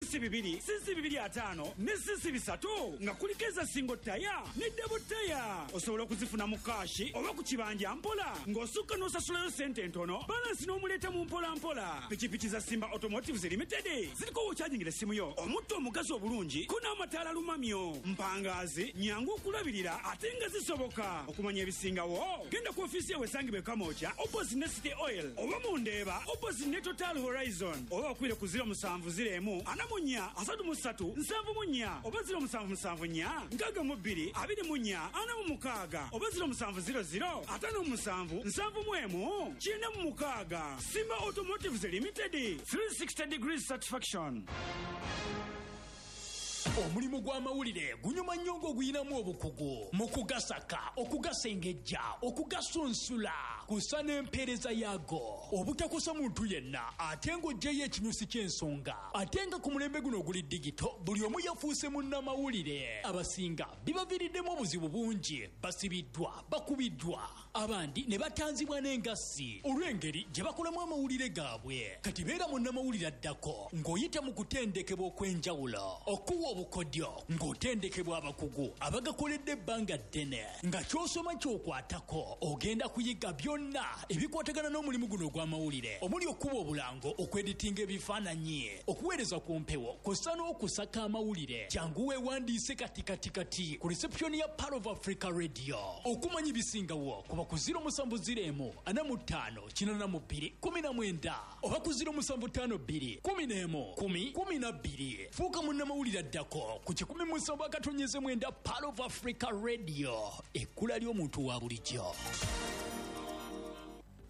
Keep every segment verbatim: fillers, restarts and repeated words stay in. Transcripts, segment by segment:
C C bibiri, C C bibiri ataano ne C C bisatu, nga kuliko eza single tire ne double tire. Osobola okuzifuna mu cash oba ku kibanja mpola, ng'osukka n'osasulayo sente entono, balance n'omuleeta mu mpola mpola. Pikipiki za Simba Automotives Limited ziriko w'okyajingira essimu yo, omutto omugazi obulungi ko n'amataala lumamyo, mpangazi, nyangu okulabirira ate nga zisoboka. Okumanya ebisingawo, genda ku ofiisi yawe esangibwa e Kamwokya opposite ne City Oil, oba mu Ndeeba opposite ne Total Horizon, oba bakubire ku zero musanvu zero emu ana mu nnya asatu mu ssatu nsanvu mu nnya, oba zero musanvu musanvu nnya nkaaga mu bbiri abiri mu nnya ana mu mukaaga, oba zero musanvu zero zero ataano mu musanvu nsanvu mu emu kyenda mu mukaaga. Simba Automotives Limited, three sixty degrees satisfaction. Omulimu gw'amawulire gunyuma nnyo ng'oguyinamu obukugu mu kugasaka, okugasengejja, okugasunsula kusa n'empeereza yaago obutakosa muntu yenna, ate ng'oggyeyo ekinyusi ky'ensonga. Ate nga ku mulembe guno oguli digital, buli omu yafuuse munnamawulire. Abasinga bibaviiriddemu obuzibu bungi, basibiddwa, bakubiddwa, abandi ne batanzibwa n'engassi olw'engeri gye bakolamu amawulire gaabwe. Kati beera munnamawulire addako ng'oyita mu kutendekebwa okw'enjawulo, okuwa obukodyo ng'otendekebwa abakugu abagakoledde ebbanga ddene, nga ky'osoma ky'okwatako. Ogenda kuyiga byonna ebikwatagana n'omulimu guno ogw'amawulire, omuli okuba obulango, okweditinga ebifaananyi, okuweereza ku mpewo, kw'ossa n'okusaka amawulire. Jangu weewandiise kati kati kati ku reception ya Pearl of Africa Radio. Okumanya ebisingawo, kuba ku zero musanvu zero emu ana mu ttaano kinaana mu bbiri kkumi na mwenda, oba ku zero musanvu ttaano bbiri kkumi n'emu kkumi kkumi na bbiri. Fuuka munnamawulire addako ku kikumi mu musanvu akatonyeze mwenda Pearl of Africa Radio, ekkula ly'omuntu wa bulijjo.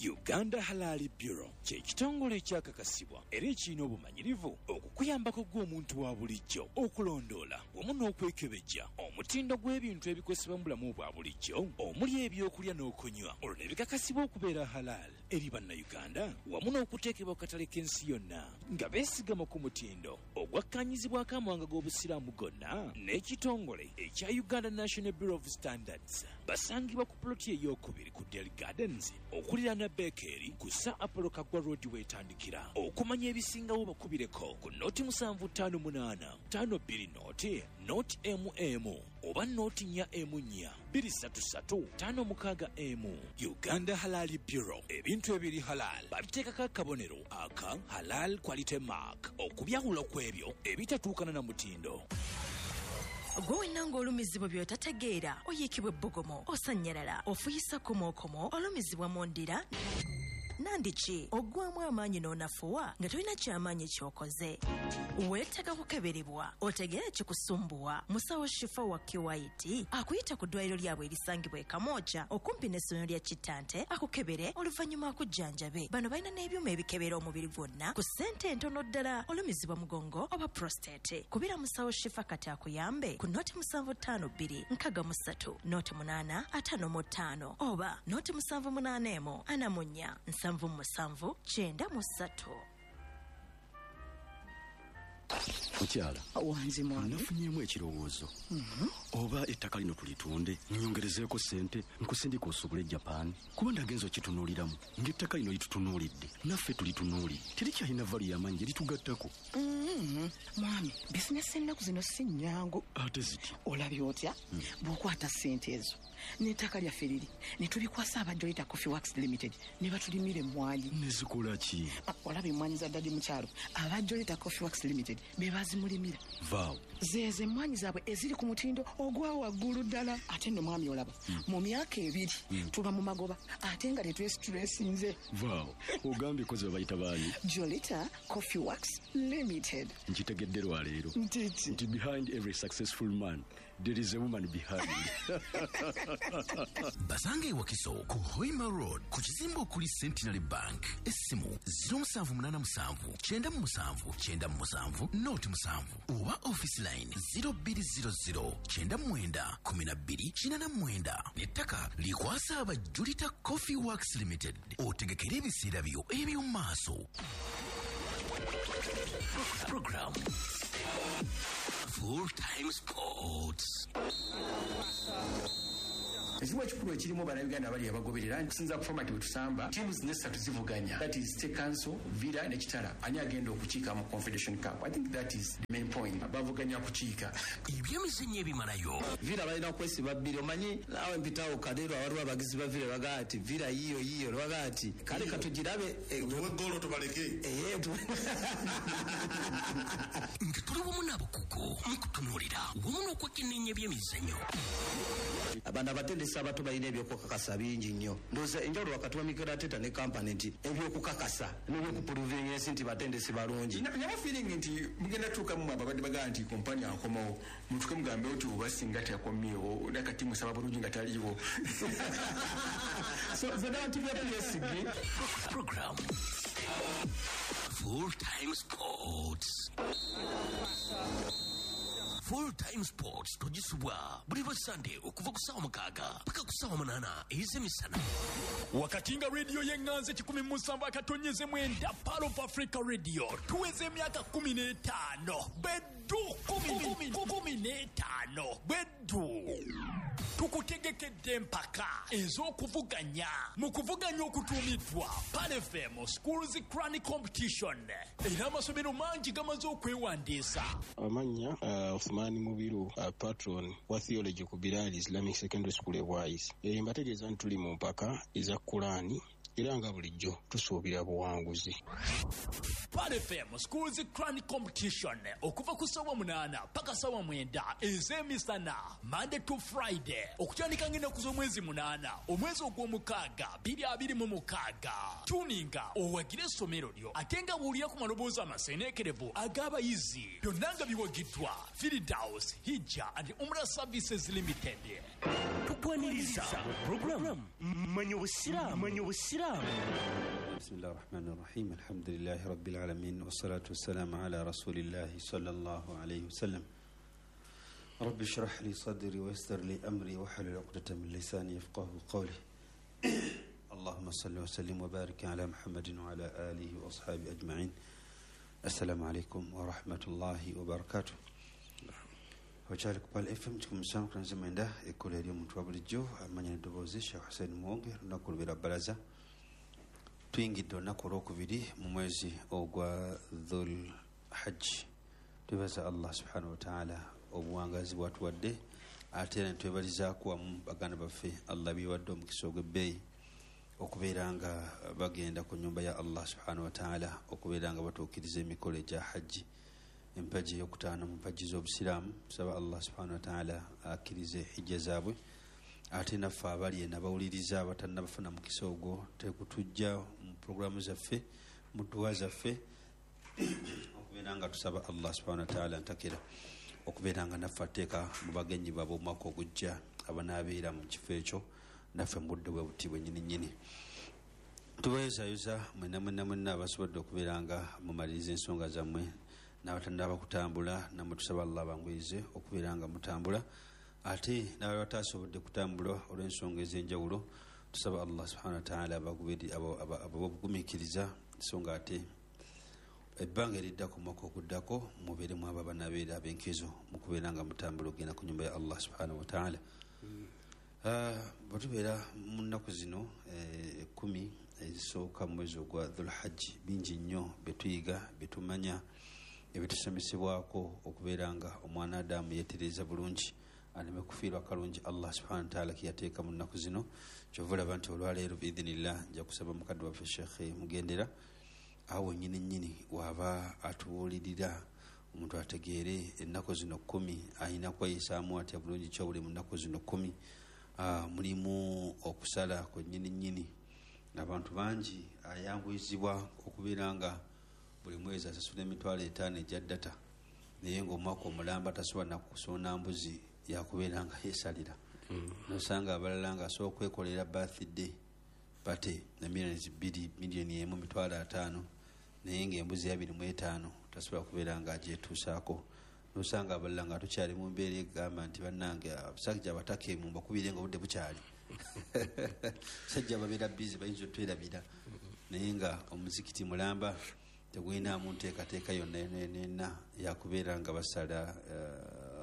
Uganda Halal Bureau kye kitongole ekyakakasibwa era ekirina obumanyirivu okukuyambako gwe omuntu wa bulijjo okulondoola wamu n'okwekebejja omutindo gw'ebintu ebikozesebwa mu bulamu bwa bulijjo, omuli ebyokulya n'okunywa, olwo ne bikakasibwa okubeera halal eri Bannayuganda wamu n'okuteekebwa ku katale k'ensi yonna, nga beesigama ku mutindo ogwakkanyizibwako amawanga g'Obusiraamu gonna n'ekitongole ekya Uganda National Bureau of Standards. Basangibwa ku puloti ey'okubiri ku Del Gardens, okuliraana Bekeri ku Sir Apollo Kaggwa Road weetandikira. Okumanya ebisingawo, bakubireko ku noti musanvu ttaano munaana ttaano bbiri noti noti emu emu, oba noti nnya emu nnya bbiri ssatu ssatu ttaano mukaaga emu. Uganda Halal Bureau, ebintu ebiri halal babiteekako akabonero aka Halal Quality Mark okubyawula ku ebyo ebitatuukana na mutindo. Gwe wenna ng'olumizibwa by'otategeera, oyiikibwa ebbugumu, osannyalala, ofuyisa komookomo, olumizibwa mu ndira nandiki, oggwamu amaanyi n'onafuwa nga tolina kyamaanyi ky'okoze, weetaaga kukeberebwa otegeere ekikusumbuwa. Musawo Shifa wa Q I T akuyita ku ddwaliro lyabwe erisangibwa e Kamwokya okumpi n'essomero lya Kittante, akukebere oluvannyuma akujjanjabe. Bano balina n'ebyuma ebikebera omubiri gwonna ku ssente entono ddala. Olumizibwa mugongo oba prostate, kubira musawo Shifa kati akuyambe ku noti musanvu ttaano bbiri nkaga mu ssatu noti munaana ataano mu ttaano, oba noti musanvu munaana emu ana mu nnya nsanvu mu musanvu kyenda mu ssatu. Mukyala. Wanzi, mwami. Nafunyeemu ekirowoozo, oba ettaka lino tulitunde nyongerezeeko ssente nkusindika osobole Japan, kuba ndagenza okitunuuliramu ng'ettaka lino litutunuulidde, naffe tulitunuulidde, terikyalina value y'amaanyi gye litugattako. Mhm. Mwami, bizinesi ennaku zino si nnyangu. Ate ziti? Olabye otya bw'okwata ssente ezo n'ettaka lyaffe liri ne tulikwasa aba Jolita Coffee Works Limited ne batulimira emmwanyi? Nezikola ki? Ah, olaba emmwanyi za daddy mukyalo, aba Jolita Coffee Works Limited be bazimulimira. Vaawo. Zeezo emmwanyi zaabwe eziri ku mutindo ogwa waggulu ddala. Ate nno mwami, olaba mu myaka ebiri tuba mu magoba ate nga tetwesitulesinze. Vaawo, ogambye kozi babayita baani? Jolita Coffee Works Limited. Nkitegedde lwaleero. Ntiki? Nti behind every successful man there is a woman behind. Basanga e Wakiso ku Hoima Road, ku kizimbe okuli Centenary Bank. Essimu zero musanvu munaana musanvu kyenda mu musanvu kyenda mu musanvu noti musanvu, oba office line zero bbiri zero zero kyenda mu mwenda kumi na bbiri kinaana mu mwenda. N'ettaka likwasa aba Julita Coffee Works Limited, otegekere ebiseera byo eby'omu maaso. Program Full Time Sports. Ekizibu ekikulu ekirimu Bannayuganda abali abagoberera kusinza ku format bwe tusamba, teams zino zivuganya, that is State Council, Villa ne Kitara, ani agenda okukiika mu Confederation Cup? I think that is the main point, bavuganya kukiika. Ebyemizannyo ebimalayo. Villa balina kwesiba bbiri, omanyi naawe mpitawo Kadeero awaliwo abagizi ba Villa bagaa ati Villa yiyo yiyo, bagaa ati kale katugirabe tuwe ggoolo tubaleke. Nga tuli wamu n'abakugu mu kutunuulira wamu n'okwekenneenya ebyemizannyo. Abantu abatendesi abato balina ebyokukakasa bingi nnyo. Ndowooza enjawulo wakati wa Mikel Arteta ne Kompany nti ebyokukakasa n'ebyokupuruvinga ensi nti batendesi balungi. Naba feeling nti mugenda tuukamu ababadde bagaa nti Kompany akomawo, mutuke mugambe nti oba singa teyakomyewo nakati musaba bulungi nga taliiwo. So zonna tujja tuyesige. Program Full Time Sports. Full Time Sports togisubwa buli lwa Sunday okuva ku ssaawa mukaaga paka ku ssaawa munaana ez'emisana. Wakati nga radio y'eŋŋanze kikumi mu musanvu akatonyeze mwenda Pearl of Africa Radio tuweze emyaka kumi n'etaano beddu kumi kumi n'etaano beddu. Tukutegekedde empaka ez'okuvuganya mu kuvuganya okutuumiddwa Pearl F M Schools Crown Competition, era amasomero mangi gamaze okwewandiisa. Amannya uh, Othman Mubiru, uh, patron wa theology ku Bilal Islamic Secondary School e Bwaise. E, mbategeeza nti tuli mu mpaka eza Kulaani era nga bulijjo tusuubira buwanguzi. Pearl F M Schools Crown Competition okuva ku ssaawa munaana paka ssaawa mwenda ez'emisana Monday to Friday okutandika ng'ennaku z'omwezi munaana omwezi ogw'omukaaga bbiri abiri mu mukaaga. Tuninga owagire essomero lyo ate nga buwulira ku maloboozi amaseeneekerevu ag'abayizi, byonna nga biwagiddwa Firdaus Hijja and Umrah Services Limited. Tukwaniriza program Manya Obusiraamu. Manya Obusiraamu. بسم الله الرحمن الرحيم، الحمد لله رب العالمين، والصلاة والسلام على رسول الله صلى الله عليه وسلم. رب اشرح لي صدري ويسر لي أمري واحلل عقدة من لساني يفقه قولي. اللهم صل وسلم وبارك على محمد وعلى آله وأصحابه أجمعين. السلام عليكم ورحمة الله وبركاته. Okyali ku Pearl F M kikumi musanvu ku mwenda ekkola eri omuntu wa bulijjo amanya n'eddoboozi Sheikh Hussein Muwonge. Lunaku lubeera bbalaza, tuyingidde olunaku olwokubiri mu mwezi ogwa Dhul Hajj. Twebaza Allah subhanahu wataala obuwangazi bwatuwadde, ate era netwebalizaako wamu baganda baffe Allah biwadde omukisa ogw'ebbeeyi okubeera nga bagenda ku nnyumba ya Allah subhanahu wataala okubeera nga batuukiriza emikolo egya hajji, empagi eyokutaano mu mpagi z'obusiraamu. Tusaba Allah subhanahu wataala akkirize hijja zaabwe, ate naffe abali eno abawuliriza abatannabafuna mukisa ogwo tekutujja mu puroguramu zaffe, mu dduwa zaffe, okubeera nga tusaba Allah subhanahu wataala ntakira okubeera nga naffe ateeka mu bagenyi baabwe omwaka ogujja abanaabeera mu kifo ekyo naffe mu budde bwe buti bwennyini nnyini. Tubayozayoza mwenna mwenna mwenna abasobodde okubeera nga mumaliriza ensonga zammwe n'abatannaba kutambula, nammwe tusaba Allah abanguyize okubeera nga mutambula, ate n'abali batasobodde kutambula olw'ensonga ez'enjawulo tusaba Allah subhanahu wataala ababugumiikiriza, so nga ate ebbanga eriddako omwaka oguddako mubeeremu abo abanaabeera ab'enkizo mu kubeera nga mutambula okugenda ku nnyumba ya Allah subhanahu wataala. Bwe tubeera mu nnaku zino ekkumi ezisooka mu mwezi ogwa Dhul Hajj, bingi nnyo bye tuyiga, bye tumanya, ebitusomesebwako okubeera nga omwana Adamu yeetereeza bulungi aleme kufiirwa kalungi Allah subhanahu wataala ke yateeka mu nnaku zino. Kyova olaba nti olwaleero biidhinillah nja kusaba mukadde waffe Sheikh Mugendera awo nnyini nnyini waaba atubuulirira omuntu ategeere ennaku zino kkumi alina kweyisaamu atya bulungi ki obuli mu nnaku zino kkumi. Mulimu okusala kwennyini nnyini, abantu bangi ayanguyizibwa okubeera nga buli mwezi asasula emitwalo etaano egya data, naye ng'omwaka omulamba tasobola nakusona mbuzi yakubeera nga yeesalira. Nosanga abalala nga asobola okwekolera birthday party na miliyoni bbiri, miliyoni emu, mitwalo ataano, naye ng'embuzi abiri mu etaano tasobola kubeera nga agyetuusaako. Nosanga abalala nga tukyali mu mbeera egamba nti bannange abasajja abataka emu mbakubire nga obudde bukyali, sajja babeera bizi bayinza otwerabira, naye nga omuzikiti mulamba tegulinamu nteekateeka yonna yonna yakubeera nga basala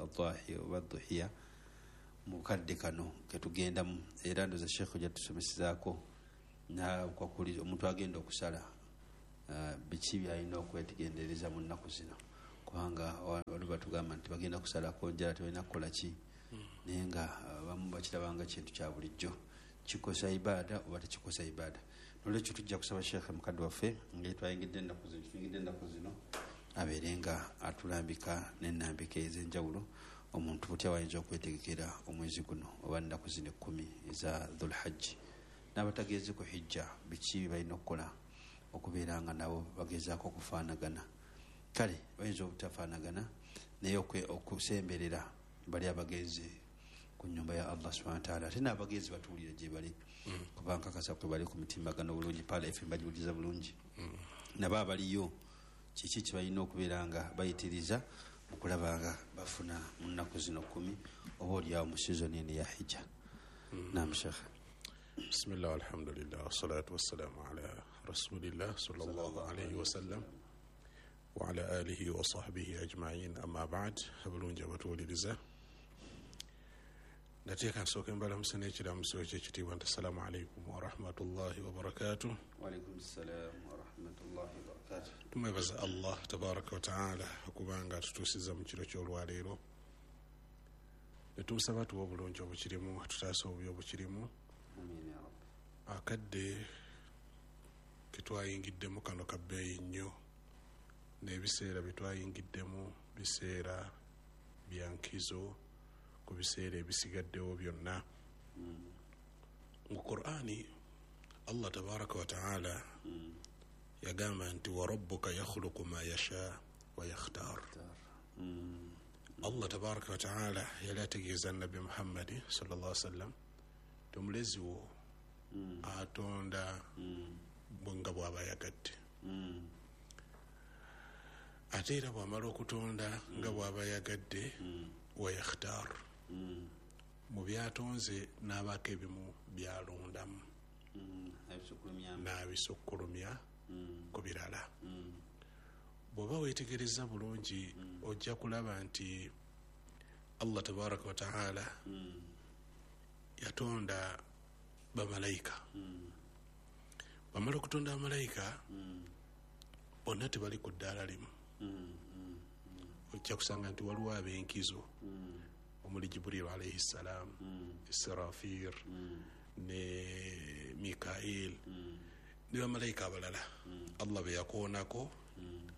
adahi oba duhiya. Mu kadde kano ketugendamu era ndoza Sheikh ojja tusomesezaako nakwakuli omuntu agenda okusala uh, biki byalina okwetegendereza mu nnaku zino, kubanga waliwo batugamba nti bagenda kusalako njala tebalina kukola ki, naye nga abamu bakirabanga kintu kya bulijjo, kikosa ibaada oba tekikosa ibaada. Nolwekyo tujja kusaba Sheikh mukadde waffe nga twayingidde ennaku zino tuyingidde ennaku zino abeere nga atulambika n'ennambika ez'enjawulo omuntu butya wayinza okwetegekera omwezi guno oba nnaku zino ekkumi eza Dhulhajji, n'abatageeze ku hijja biki balina okukola okubeera nga nabo bagezaako okufaanagana. Kale bayinza obutafaanagana naye okusemberera bali abagenzi ku nnyumba ya Allah subhanahu wa ta'ala, ate n'abagenzi batuwulira gye bali kuba nkakasa kwe bali ku mitimbagano bulungi, Pala F M bagiwuliriza bulungi, nabo abaliyo kiki kye balina okubeera nga bayitiriza mu kulaba nga bafuna mu nnaku zino kkumi oba oliawo mu sizoni eno eya hijja. Naam Sheikh. Bismillah, alhamdulillah, wassalatu wassalamu ala rasulillah sallallahu alayhi wasallam wa ala alihi wa sahbihi ajma'in, amma ba'd. Abulungi abatuwuliriza, nateeka nsooke mbalamusa n'ekiramuso ekyekitiibwa nti assalamu alaikum warahmatullahi wabarakatuh. Wa alaikum salam warahmatullahi wabarakatuh. Tumwebaza Allah tabaraka wa taala okubanga atutuusiza mu kiro ky'olwaleero, ne tumusaba tuwe obulungi obukirimu, atutaase obubi obukirimu. Amiina ya Rabbi. Akadde ketwayingiddemu kano ka bbeeyi nnyo, n'ebiseera bye twayingiddemu biseera bya nkizo ku biseera ebisigaddewo byonna. Mu Qur'ani Allah tabaraka wa taala yagamba nti wa rabbuka yakhluqu ma yasha wa yakhtar. Allah tabaraka wa taala yali ategeeza Nabbi Muhammadi sallallahu alaihi wasallam nti omulezi wo atonda nga bw'aba ayagadde, ate era bw'amala okutonda nga bw'aba ayagadde wa yakhtar, mu byatonze n'abaako ebimu byalondamu n'abisukkulumya ku birala. Bw'oba weetegereza bulungi ojja kulaba nti Allah tabaraka wa taala yatonda bamalayika. Bamala okutonda bamalayika bonna tebali ku ddaala limu. Ojja kusanga nti waliwo ab'enkizo omuli Jibril alayhi salam, Israfil ne Mikail ne bamalayika abalala Allah be yakoonako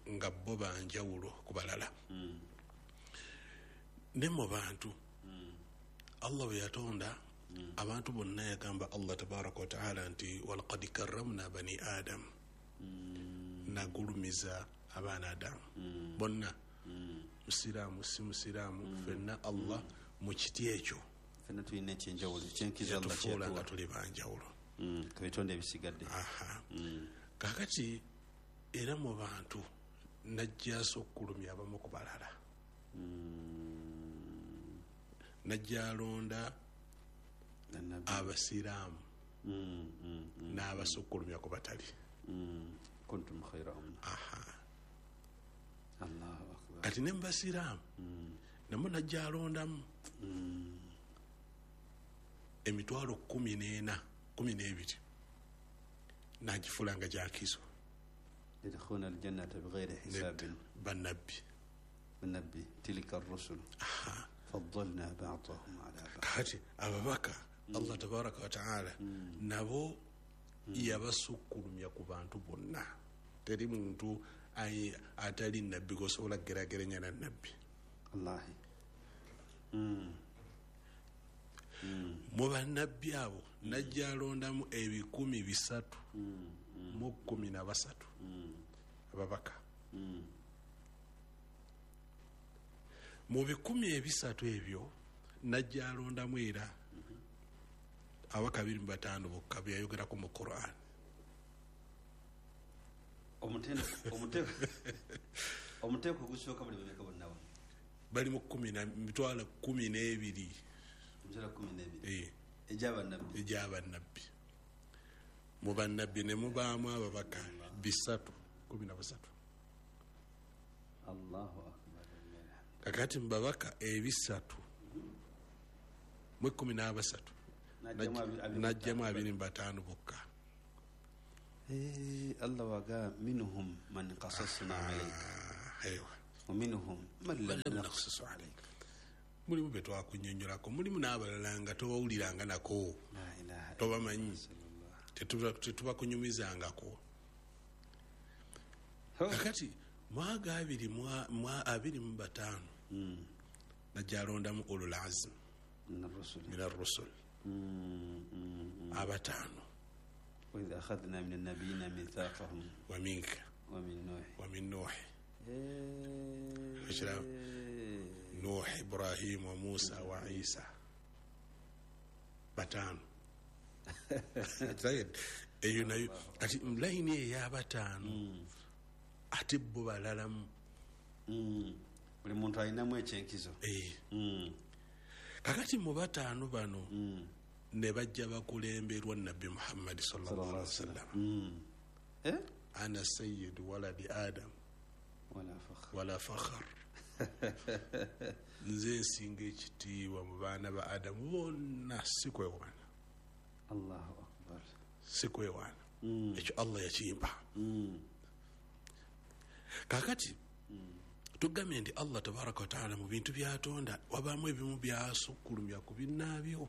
nga bo banjawulo ku balala. Ne mu bantu Allah bwe yatonda abantu bonna yagamba Allah tabaraka wa taala nti walaqad karramna bani Adam, nagulumiza abaana Adamu bonna, musiraamu si musiraamu, ffenna Allah mu kiti ekyo ffenna tulina ekyenjawulo ekyenkizo Allah kyeyatufuula nga tuli banjawulo ku bitonde ebisigadde. Kaakati era mu bantu najja asukkulumya abamu ku balala, najja alonda abasiraamu n'abasukkulumya ku batali. Kuntum khayra umma. Allahu akbar. Kati ne mu basiraamu namwo najja alondamu emitwalo kkumi n'ena kkumi n'ebiri n'agifuula nga gyakizo. Yadkhuluna aljannata bighayri hisabin. Bannabbi bannabbi tilka ar-rusul faddalna ba'dahum ala ba'd. Kati ababaka Allah tabaraka wa taala nabo yabasukkulumya ku bantu bonna. Teri muntu atali nabbi gosobola kugeraageranya na nabbi. Wallahi. Mu bannabbi abo najja alondamu ebikumi bisatu mu kkumi na basatu ababaka. Mu bikumi ebisatu ebyo najja alondamu era abaka abiri mu bataano bokka be yayogerako mu Qur'an. Omuteeko ogusooka buli bameka bonna bali mu kkumi na mitwalo kkumi n'ebiri. Emitwalo kkumi n'ebiri egy'abannabbi egy'abannabbi. Mu bannabbi ne mubaamu ababaka bisatu kkumi na basatu. Allahu akbar. Kakati mu babaka ebisatu Mu ekkumi n'abasatu n'aggyamu abiri mu bataano bokka. Allah waga minhum man qasasna alayka aywa wa minhum man lam naqsus alayka. Mulimu be twakunnyonnyolako, mulimu n'abalala nga tobawuliranga nako, tobamanyi, tetubakunyumizangako. Kakati mwaga abiri mwa abiri mu bataano najja alondamu ulul azm min ar-rusul abataano. وإذ أخذنا من النبيين ميثاقهم ومنك ومن نوح ومن نوح نوح إبراهيم وموسى وعيسى bataano. Eyo nayo kati layini ey'abataano ate bo balalamu. Buli muntu alinamu ekyenkizo. Kakati mu bataano bano ne bajja bakulemberwa Nabbi Muhammad sallallahu alaihi wasallam. Ana sayyidu waladi Adam wala fakhr wala fakhr. Nze nsinga ekitiibwa mu baana ba Adamu bonna, si kwewaana. Allahu akbar, si kwewaana. Ekyo Allah yakimpa. Kakati tugambye nti Allah tabaraka wa taala mu bintu by'atonda wabaamu ebimu byasukkulumya ku binnaabyo.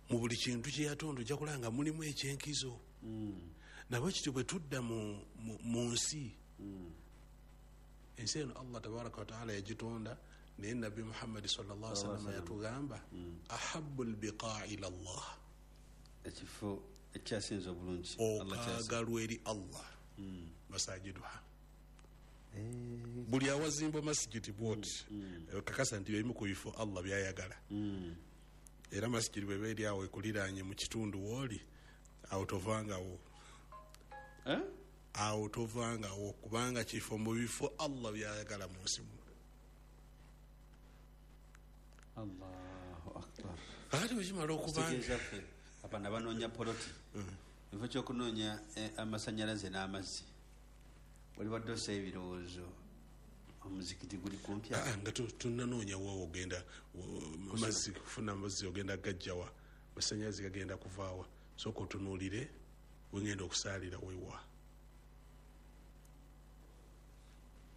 Mu buli kintu kye yatonda ojja kulaba nga mulimu ekyenkizo. Nabwe kityo bwe tudda mu nsi, ensi eno Allah tabaraka wa taala yagitonda, naye Nabbi Muhammad sallallahu alaihi wasallam yatugamba ahabbu albiqaa ila Allah, ekifo ekyasinze obulungi okaagalwa eri Allah masajiduha. Buli awazimbwa masigiti bwoti kakasa nti ebimu ku bifo Allah byayagala. Era masigiti bweba eri awo ekuliraanye mu kitundu wooli, awo tovangawo, awo tovangawo, kubanga kifo mu bifo Allah byayagala mu nsi muno. Allahu akbar. Kakati bwe kimala okubanga abana banoonya poloti, ekifo ky'okunoonya amasannyalaze n'amazzi, wali wadde ossa ebirowoozo omuzikiti guli kumpi awo. Nga tunnanoonya waawo ogenda mazzi, kufuna amazzi ogenda gajjawa, amasannyalaze gagenda kuvaawa, sooka otunuulire wengenda okusaalira wewa,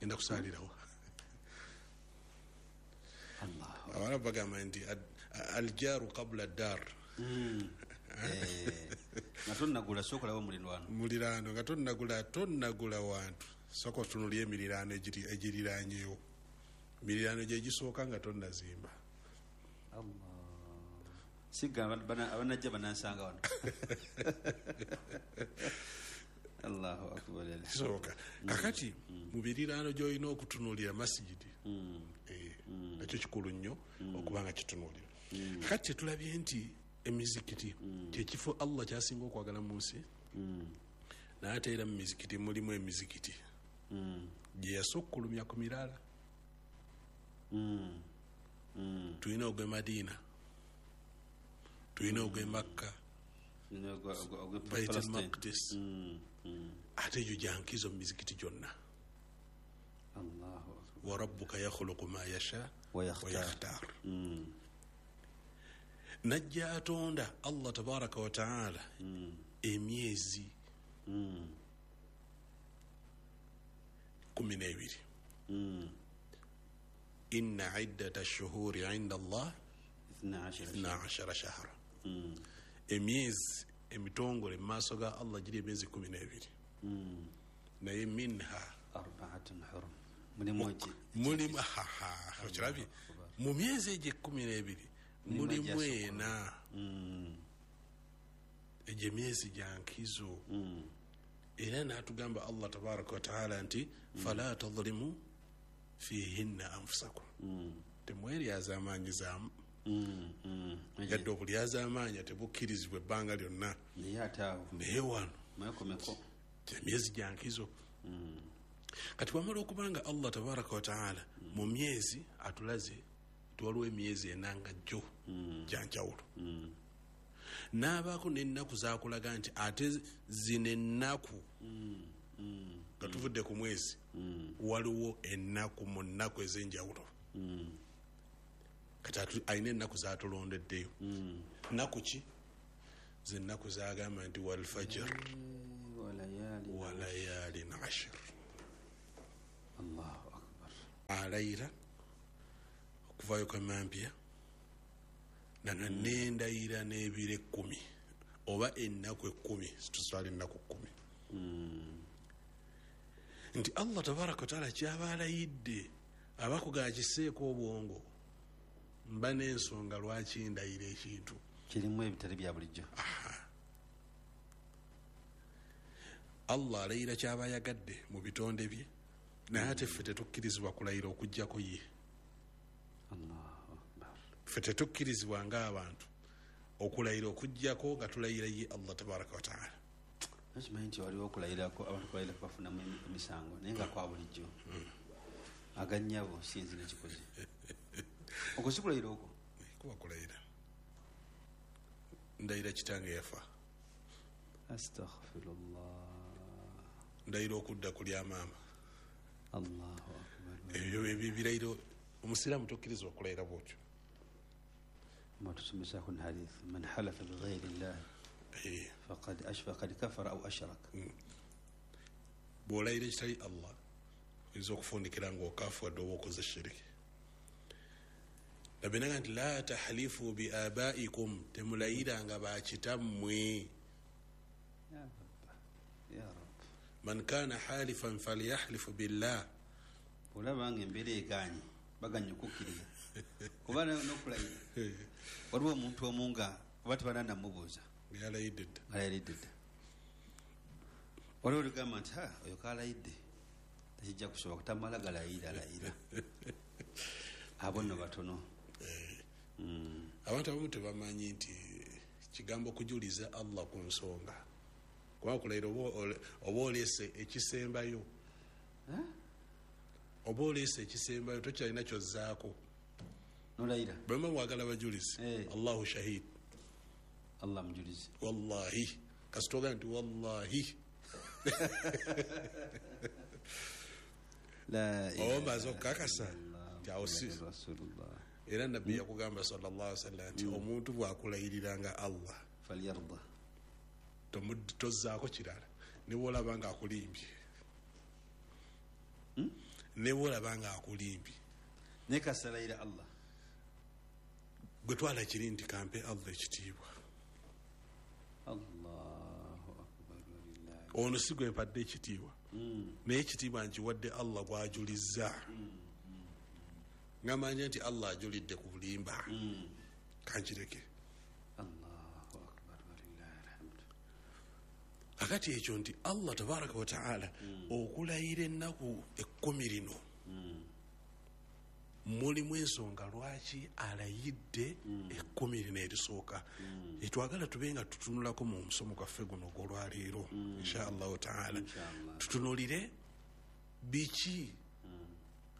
genda kusaalirawa. Abarabu bagamba nti aljaru qabla dar. Nga tonnagula sooka olaba omuliraano, muliraano nga tonnagula tonnagula wantu, sooka otunuulire emiriraano egiriraanyewo, emiriraano gye gisooka nga tonnazimba. Sigga abanajja banansanga wano. Allahu akbar. Kisooka kakati mu biriraano gy'olina okutunuulira masigidi, nakyo kikulu nnyo okuba nga kitunuulira. Kakati kyetulabye nti emizikiti kyekifo Allah kyasinga okwagala mu nsi, naye ate era mu mizikiti mulimu emizikiti gye yasukkulumya ku mirala. Tulina ogw'e Madiina, tulina ogw'e Makka, Baitul Maqdis, ate egyo gya nkizo mu mizikiti gyonna. Wa rabbuka yakhluqu ma yasha wa yakhtar. Najja atonda Allah tabaraka wa taala emyezi kumi n'ebiri. Inna iddata shuhuri inda Allah ithna ashara shahra. Emyezi emitongole mu maaso ga Allah giri emyezi kumi n'ebiri, naye minha arba'atun hurum, mulimu okirabye mu myezi egyo ekkumi n'ebiri mulimu ena. Egyo emyezi gya nkizo. Era n'atugamba Allah tabaraka wa taala nti fala tadhlimu fihinna anfusakum, temweryazaamaanyizaamu. Yadde okulyazaamaanya tebukkirizibwa ebbanga lyonna, naye wano emyezi gya nkizo. Kati bwamala okubanga Allah tabaraka wa taala mu myezi atulaze nti waliwo emyezi ena nga jjo gya njawulo, n'abaako n'ennaku zaakulaga nti ate zino ennaku nga tuvudde ku mwezi, waliwo ennaku mu nnaku ez'enjawulo. Kati alina ennaku zatulondeddeyo. Nnaku ki? Ze nnaku zagamba nti walfajr walayalin ashir. Allahu akbar. Alayira okuvayo kwemampya nanga nendayira n'ebiro ekkumi oba ennaku ekkumi, tuswala ennaku kkumi. Nti Allah tabaraka wataala kyaba alayidde abakugaa kiseeko obwongo, mba n'ensonga lwaki ndayira ekintu kirimu ebitali bya bulijjo. Allah alayira kyaba ayagadde mu bitonde bye, naye ate ffe tetukkirizibwa kulayira okuggyako ye. Allahu akbar. Ffe tetukkirizibwa ng'abantu okulayira okuggyako nga tulayira ye Allah tabaraka wataala. Nakimanyi nti waliwo okulayirako abantu kulayirako bafunamu emisango naye nga kwa bulijjo aganyabo sinzi nekikoze. Okwo si kulayira okwo? Kuba kulayira. Ndayira kitange yafa. Astaghfirullah. Ndayira okudda kulya maama. Allahu akbar. Ebyo ebirayiro omusiraamu tokkirizibwa kulayira bw'otyo. Mwatusomesako ne hadith man halafa bighayri llah faqad ashfaqad kafara au ashrak. Bw'olayira ekitali Allah oyinza okufundikira ng'okafuwadde oba okoze shiriki. Nabbi n'agamba nti la tahlifu bi abaikum, temulayiranga bakitammwe. Ya Rabb. Man kana halifan falyahlifu billah. Olaba nga embeera egaanye baganye okukkiriza kuba n'okulayira waliwo omuntu omu nga oba tebananamubuuza yalayidde dda, alayidde dda. Waliwo olugamba nti ha oyo kalayidde tekijja kusobola kutamala galayira layira. Abo nno batono. Abantu abamu tebamanyi nti kigambo kujuliza Allah ku nsonga, kuba kulayira oba oleese ekisembayo, oba oleese ekisembayo tokyalina kyozzaako nolayira. Bwema mwagala bajulizi, Allahu shahid, Allah mujulizi. Wallahi kasitoga nti wallahi ombaza okukakasa nti awo si. Era nabbi yakugamba sallallahu alaihi wasallam nti omuntu bw'akulayiriranga Allah falyarda, tozzaako kirala ne bw'olaba nga akulimbye, ne bw'olaba nga akulimbye naye kasalayira Allah gwe twala kiri nti kampe Allah ekitiibwa. Allahu akbar. Ono si gwe mpadde ekitiibwa, naye ekitiibwa nkiwadde Allah gw'ajulizza. Ngamanya nti Allah ajulidde ku bulimba, kankireke. Allahu akbar walillahi alhamdu. Akati ekyo nti Allah tabaraka wa taala okulayira ennaku ekkumi lino mulimu ensonga lwaki alayidde ekkumi lino erisooka. Etwagala tube nga tutunulako mu musomo gwaffe guno ogw'olwaleero insha Allahu taala, tutunulire biki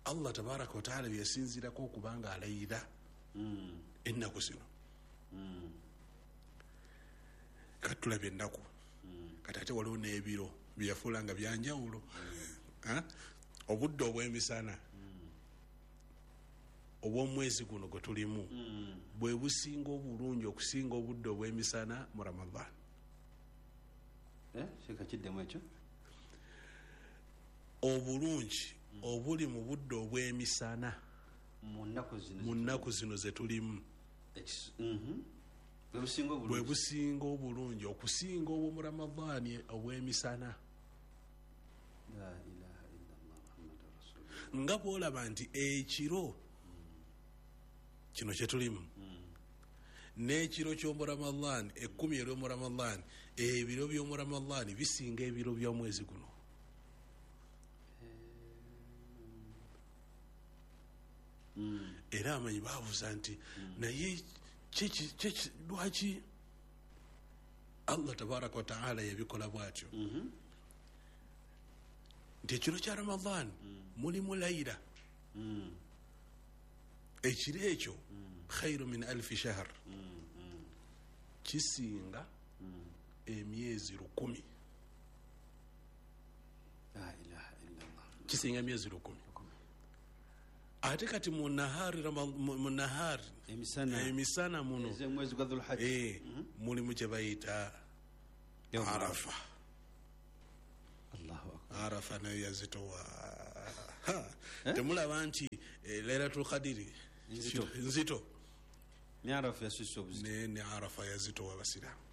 Allah tabaraka wa taala byeyasinzirako okubanga alayira ennaku zino. Kati tulabye ennaku, kati ate waliwo n'ebiro byeyafuula nga byanjawulo. Obudde obw'emisana obw'omwezi guno gwe tulimu bwe businga obulungi okusinga obudde obw'emisana mu Ramadhan. Kiddemu ekyo. Obulungi obuli mu budde obw'emisana mu nnaku zino ze tulimu bwe businga obulungi okusinga obw'omu Ramadhaani obw'emisana. Nga bw'olaba nti ekiro kino kye tulimu n'ekiro ky'omu Ramadhaani ekkumi ery'omu Ramadhaani, ebiro by'omu Ramadhaani bisinga ebiro by'omwezi guno. Era amanyi baabuuza nti naye lwaki Allah tabaraka wa taala yabikola bw'atyo? Nti ekiro kya Ramadhaani mulimu layira, ekiro ekyo khairu min alfi shahr, kisinga emyezi lukumi. La ilaha illallah. Kisinga emyezi lukumi. Ate kati mu nahari mu nahari emisana emisana muno ez'omwezi gwa Dhulhajja eh mulimu kye bayita Arafa. Allahu akbar. Arafa nayo yazitowa. Temulaba nti Lailatul Qadri nzito nzito ni Arafa yasusa obuzito ne ni Arafa yazitowa basiramu.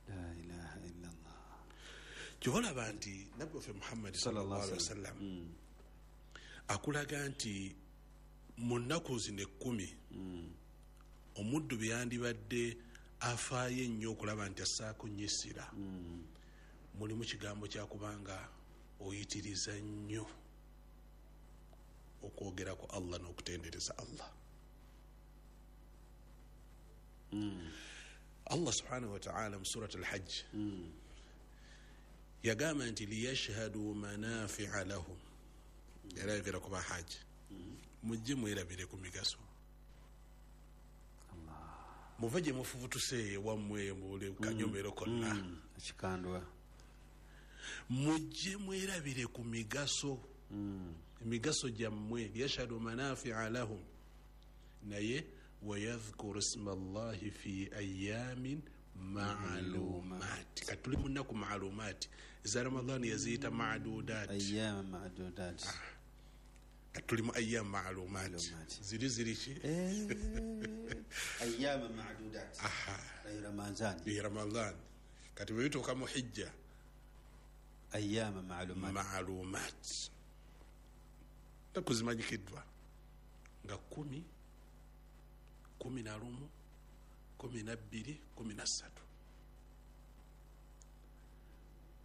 La ilaha illa Allah. Kyolaba nti Nabbi waffe Muhammad sallallahu alaihi wasallam mm. akulaga nti mu nnaku zino ekkumi mm. omuddu bye yandibadde afaayo ennyo okulaba nti assaako nnyo essira mm. mulimu kigambo kyakubanga oyitiriza nnyo okwogera ku Allah n'okutendereza Allah. Mm. Allah subhanahu wa ta'ala mu surat al-Hajj mm. yagamba nti liyashhadu manafi'a lahum, yarayogera ku bahaji mm. mujje mwerabire ku migaso, muve gye mufubutuse wammwe mubule kanyomero konna mm. ekikandwa mujje mwerabire ku migaso mm. emigaso gyammwe liyashhadu manafi'a lahum, naye wayadhkuru isma Allahi fi ayamin ma'lumat. Katuli mu nnaku ma'lumat za Ramadhani yaziyita ma'dudat, ayyam ma'dudat. Katuli mu ayyam ma'lumat ziri ziri ki ayyam ma'dudat. Aha, Ramadhan bi Ramadhan kati bwe bituuka mu hijja ayyam ma'lumat ma'lumat nnaku zimanyikiddwa nga kumi, kumi na lumu, kumi na bbiri, kumi na ssatu.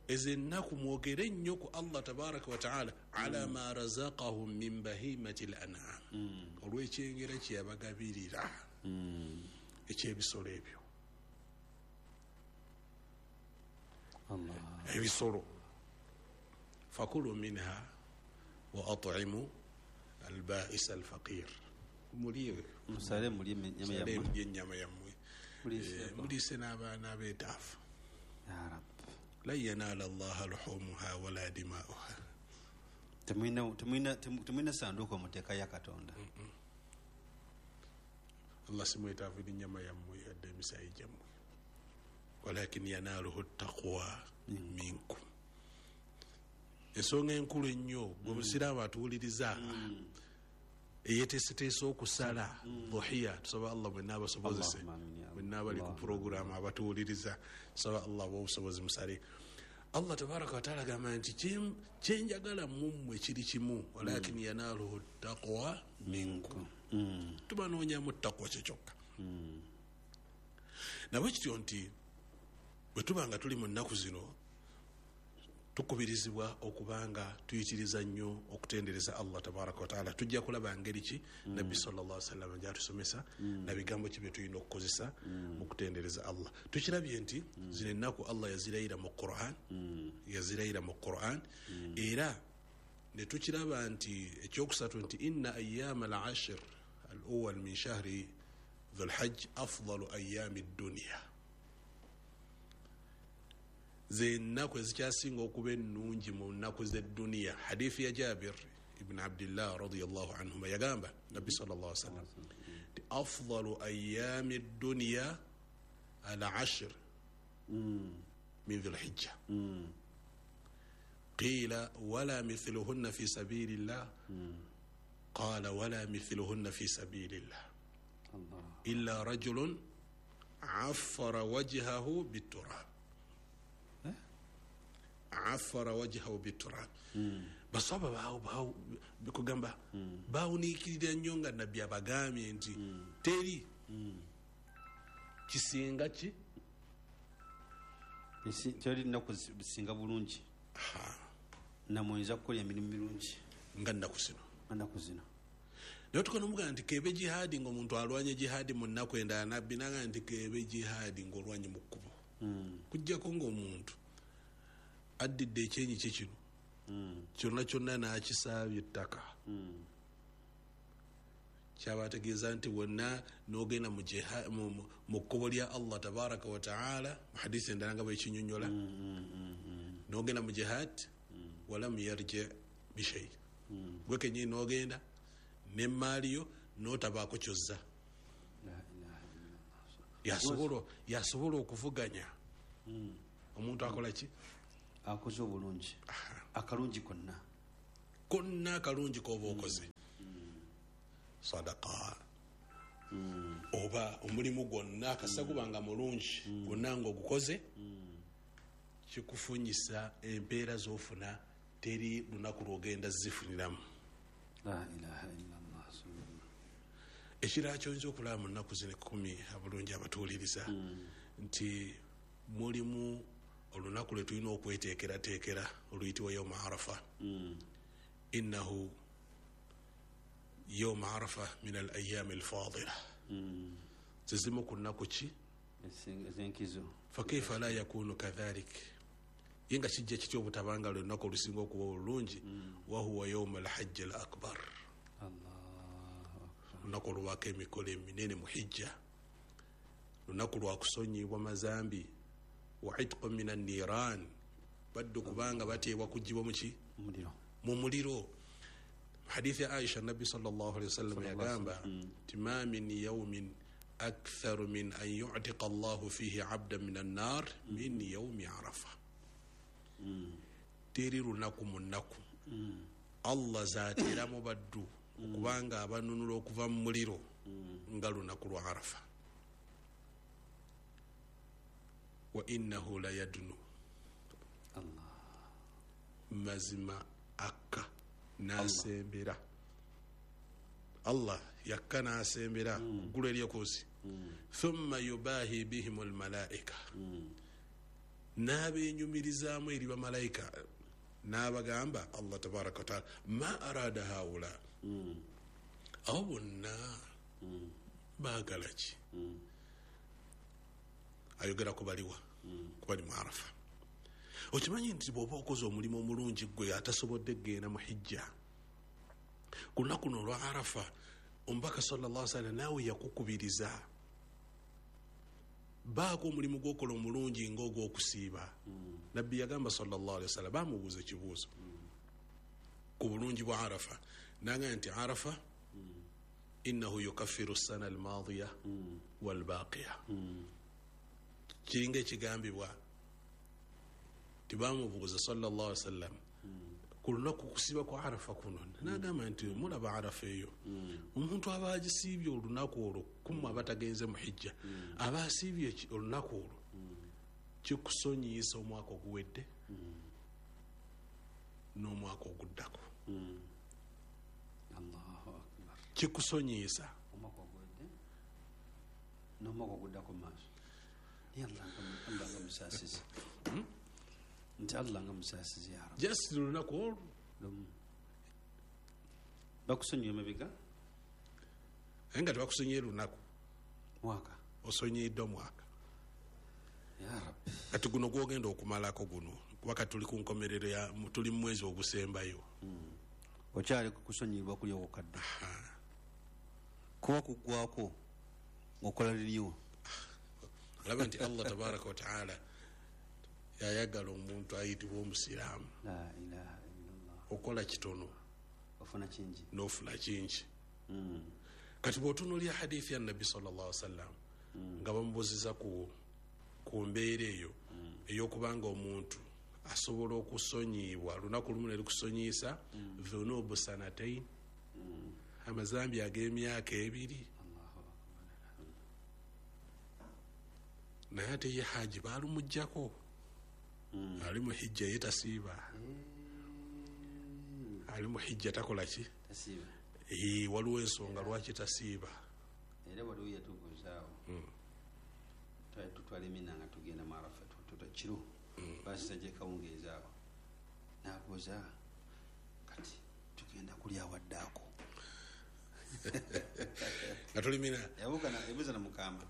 Ezo ennaku mwogere nnyo ku Allah tabaraka wa taala ala ma razaqahum min bahimati l-an'am, olw'ekyengera kye yabagabirira eky'ebisolo ebyo. Ebisolo fakulu minha wa at'imu al-ba'is al-faqir, mulye musale mulye ennyama yammwe, muliise n'abaana abeetaafu. Ya Rab, lan yanaala Allaha luhumuha wala dima'uha. Temulina temulina temulina sanduuko muteeka ya Katonda. Allah si mwetaafu n'ennyama yammwe yadde emisaayi gyammwe, walakin yanaaluhu ttaqwa minkum. Ensonga enkulu ennyo gwe musiraamu atuwuliriza eyeteeseteese okusala dhuhiya, tusaba Allah mwenna abasobozese, mwenna abali ku puroguramu abatuwuliriza, tusaba Allah abawe obusobozi musale. Allah tabaraka wa taala agamba nti kyenjagala mummwe kiri kimu, walakin yanaaluhu ttaqwa minkum, tubanoonyamu ttaqwa kye kyokka. Nabwe kityo nti bwe tuba nga tuli mu nnaku zino tukubirizibwa okubanga tuyitiriza nnyo okutendereza Allah tabaraka wa taala. Tujja kulaba ngeri ki mm. Nabbi sallallahu alaihi wasallam gy'atusomesa mm. na bigambo ki bye tulina okukozesa mm. mu kutendereza Allah. Tukirabye nti mm. zino ennaku Allah yazirayira mu Qur'an mm. yazirayira mu Qur'an mm. era ne tukiraba nti ekyokusatu nti inna ayyama al-ashr al-awwal min shahri dhul-hajj afdalu ayyami ad-dunya, ze ennaku ezikyasinga okuba ennungi mu nnaku z'edduniya. Hadithi ya Jabir ibn Abdillah radiyallahu anhuma yagamba Nabbi sallallahu alaihi wasallam nti afdalu ayyami dduniya al-ashr min dhul-hijja, qila wala mithluhunna fi sabilillah, qala wala mithluhunna fi sabilillah illa rajulun affara wajhahu biturab, afara wajhahu biturab. Basaba bawo bawo bikugamba bawuniikirira nnyo nga Nabbi abagambye nti teri kisinga ki teri nnaku zisinga bulungi namuyinza kukola emirimu mirungi nga nnaku zino nnaku zino. Naye tukanomugamba nti keebe jihaadi ng'omuntu alwanye jihaadi mu nnaku endala, Nabbi n'agamba nti keebe jihaadi ng'olwanye mu kkubo, kujjako ng'omuntu addidde ekyenyi kye kino kyonna kyonna n'akisaabye ettaka, kyaba ategeeza nti wonna n'ogenda mu kkubo lya Allah tabaraka wa taala. Mu hadisi endala nga bwekinyonnyola, n'ogenda mu jihad walam yarji bishai, gwe kennyini n'ogenda n'emmaali yo n'otabaako kyozza. Yasobola yasobola okuvuganya omuntu akola ki? Akoze obulungi, akalungi konna konna akalungi k'oba okoze, sadaka oba omulimu gwonna akasa gubanga mulungi gwonna ng'ogukoze, kikufunyisa empeera z'ofuna teri lunaku lw'ogenda zifuniramu. La ilaha illallah. Ekirala ky'oyinza okulaba mu nnaku zino ekkumi abulungi abatuwuliriza nti mulimu olunaku lwe tulina okweteekerateekera oluyitibwa yawmu Arafa. Innahu yawmu Arafa min al ayami alfadila, zizimu ku nnaku ki ez'enkizo. Fakaifa la yakunu kadhalik, ye nga kijja kitya obutabanga lunaku olusinga okuba obulungi. Wahuwa yawmu alhajji al akbar, lunaku olwako emikolo eminene mu hijja, lunaku lwakusonyibwa mazambi, wa itqu min anniran, baddu kubanga bateebwa kuggyibwa muki mu muliro. Hadithi ya Aisha, Nabbi sallallahu alaihi wasallam yagamba nti ma min yawmin aktharu min an yu'tiqa Allahu fihi abdan min annar min yawmi Arafa. Teri lunaku mu nnaku Allah zaateramu baddu okubanga abanunula okuva mu muliro nga lunaku lwa Arafa. Wa innahu la yadnu, Allah mazima akka n'asembera, Allah yakka n'asembera ggulu eryokuzi. Thumma yubahi bihim almalaika, n'abenyumirizaamu eri bamalayika n'abagamba Allah tabaraka wa taala ma arada haula, abo bonna baagala ki? Ayogera ku baliwa kubali mu Arafa. Okimanyi nti bw'oba okoze omulimu omulungi gwe atasobodde kugenda mu hijja ku lunaku luno olwa Arafa, omubaka sallallahu alaihi wasallam naawe yakukubiriza baako omulimu gw'okola omulungi ng'ogw'okusiiba. Nabbi yagamba sallallahu alaihi wasallam, bamubuuza ekibuuzo ku bulungi bwa Arafa, n'agamba nti Arafa innahu yukaffiru ssana almaadiya walbaaqiya. Kiringa ekigambibwa tibamubuuza sallallahu alaihi wasallam ku lunaku kusiiba kwa Arafa kuno, n'agamba nti mulaba Arafa eyo omuntu aba agisiibye olunaku olwo, kummwe abatagenze mu hijja aba asiibye olunaku olwo kikusonyiisa omwaka oguwedde n'omwaka oguddako. Allahu akbar. Kikusonyiisa omwaka oguwedde n'omwaka oguddako maaso. Naye Allah nga musaasizi, nti Allah nga musaasizi ya Rabbi. Just lunaku olwo lumu bakusonyiwa emabega, naye nga tebakusonyiye lunaku, mwaka osonyiyiddwa mwaka. Ya Rabbi. Kati guno gwogenda okumalako guno, kuba kati tuli ku nkomerero ya tuli mu mwezi ogusembayo. Okyali kusonyiyibwa kuli okukadde kuba kuggwako ng'okola liriwo. Olaba nti Allah tabaraka wa taala yayagala omuntu ayitibwa omusiraamu. La ilaha illallah. Okola kitono ofuna kingi n'ofuna kingi. Kati bw'otunuulira hadithi ya Nabbi sallallahu alaihi wasallam nga bamubuuziza ku ku mbeera eyo ey'okubanga omuntu asobola okusonyiyibwa lunaku lumu ne lukusonyiyisa dhunubu sanatain, amazambi ag'emyaka ebiri. Naye ate ye haji baalumuggyako, ali mu hijja ye tasiiba, ali mu hijja takola ki? Tasiiba. Waliwo ensonga lwaki tasiiba. Era waliwo yatubuuzaawo twali tutwala emina nga tugenda mu Arafa tuta kiro basisa gye kawungeezaawo, n'abuuza kati tugenda kulya awaddaako nga tulimina, yabuuza na mukamba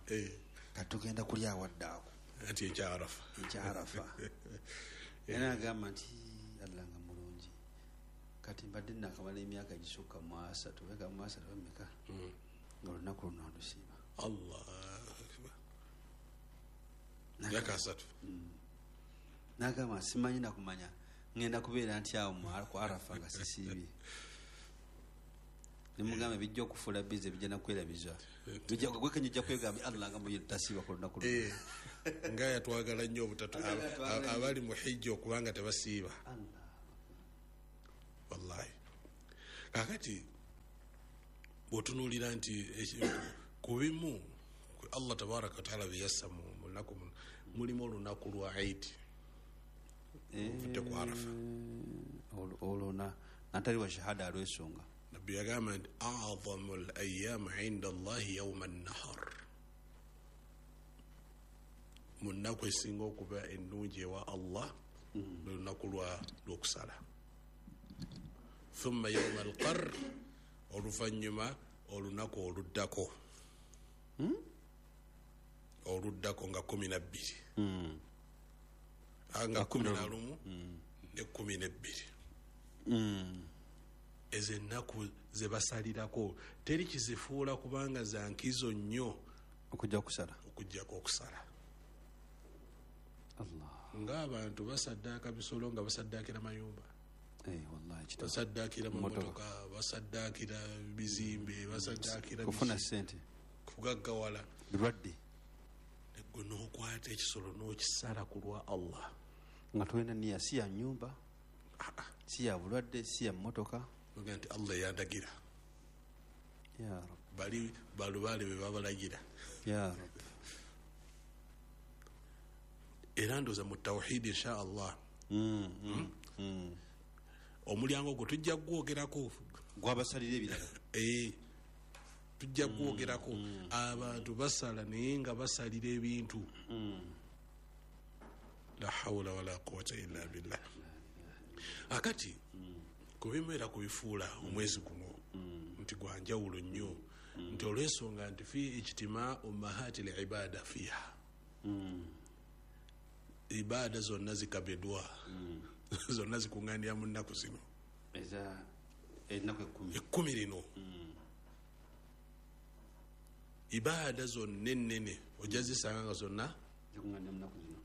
kati tugenda kulya awaddaako anti enkya Arafa, enkya Arafa. Era agamba nti Allah nga mulungi, kati mbadde nakamala emyaka egisukka mu asatu beka mu asatu bameka nga olunaku luno ndusiiba. Allah akbar. Myaka asatu. N'agamba simanyi nakumanya ngenda kubeera nti awo ku Arafa nga sisiibye. Nemugamba bijja okufuula bize bijja nakwerabiza. Bijja gwekenya ojja kwegamba Allah nga muyitasiba ku lunaku. Eh. Nga yatwagala nnyo obutatu abali mu hijja okubanga tebasiiba. Allah. Wallahi. Kakati bw'otunuulira nti ku bimu Allah tabaraka wa taala bye yassa mu lunaku mulimu olunaku lwa Eid. Ovudde ku Arafa. Olwo natali wa shahada alwesonga. Nabbi yagamba nti a'zamu al-ayyam 'inda Allahi yawma an-nahar. Mu nnaku esinga okuba ennungi ewa Allah lwe lunaku lw'okusala. Thumma yawma al-qarr, oluvannyuma olunaku oluddako. Oluddako nga kumi na bbiri. Nga kumi na lumu ne kumi n'ebbiri. Ezo ennaku ze basalirako teri kizifuula kubanga za nkizo nnyo okujja okusala. Okujjako okusala. Allah. Ng'abantu basaddaaka bisolo nga basaddaakira mayumba. Eh, wallahi kitabo. Basaddaakira mamotoka, basaddaakira bizimbe, basaddaakira kufuna ssente, kugaggawala. Birwadde. Gwe n'okwata ekisolo n'okisala ku lwa Allah. Nga tolina nniya, si ya nnyumba, si ya bulwadde, si ya mmotoka. Oga nti Allah yandagira. Ya Rabbi. Bali balubaale be babalagira. Ya Rabbi. Era ndowooza mu tawhidi insha Allah. Mm, mm, mm. Omulyango ogwo tujja kugwogerako. Gwabasalira ebirala. Eh. Tujja kugwogerako. Abantu basala naye nga basalira ebintu. La hawla wala quwwata illa billah. Akati kubimu era kubifuula omwezi guno nti gwa njawulo nnyo nti olw'ensonga nti fi ijtimaa ummahati al-ibada fiha. Ibada zonna zikabedwa. Zonna zikuŋŋaanira mu nnaku zino. Eza ennaku ekkumi. Ekkumi lino. Ibada zonna ennene ojja zisanga nga zonna zikuŋŋaanira mu nnaku zino.